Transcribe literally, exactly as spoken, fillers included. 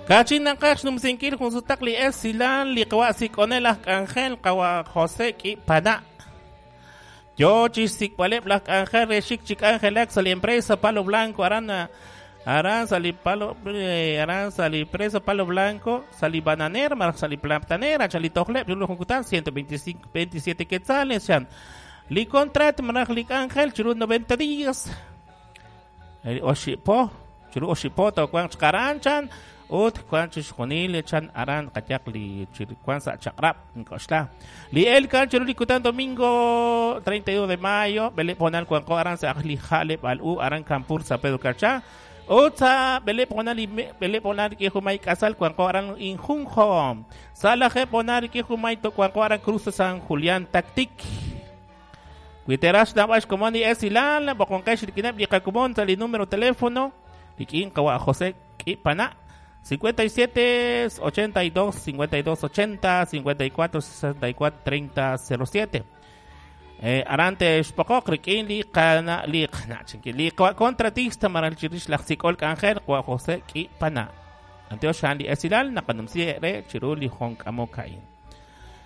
Kachin naqaj xnumsinkil jun sutaq li esilal li qawa sik'onel aj k'anjel qawa José K'ipana. Yo chi xsik'b'aleb' laj k'anjel re xik chi k'anjelak sa' li empresa Palo Blanco aran aran sa' li Palo eh, aran sa' li empresa Palo Blanco sa' li bananera maraj sa' li platanera cha li tojleb' chiru jun kutan ciento veinticinco veintisiete quetzales chan. Li contrato maraj li k'anjel chiru noventa días. El oxipo chiru oxipo towanq chqaran chan ut wan chixjunil chan aran qayaq li chirikuan sa' chaq'rab' nk'oxla. Li elkan chiru li kutan domingo treinta y uno de mayo b'eleb' honal wanqo aran sa' li ja'leb' al u aran Campur San Pedro Carchá. Ut sa' b'eleb' honal b'eleb' honal rik'in jumay k'asal wanqo aran Injunjo. Sa' lajeb' honal rik'in jumay wanqo aran Cruz San Julián Tactic. Witerax nab'ax komon li esilal boqonqex rik'ineb' li qakomon sa' li número teléfono rik'in qawa José K'ipana cincuenta y siete ochenta y dos cincuenta y dos ochenta cincuenta y cuatro sesenta y cuatro treinta cero siete. Eh, arante xpoqoq rik'in li qana li qana chinki li contratista maral chirix laj sik'ol k'anjel qawa José K'ipana. Anteox xan li esilal naqanumsi re chiru li jonk'amok a'in.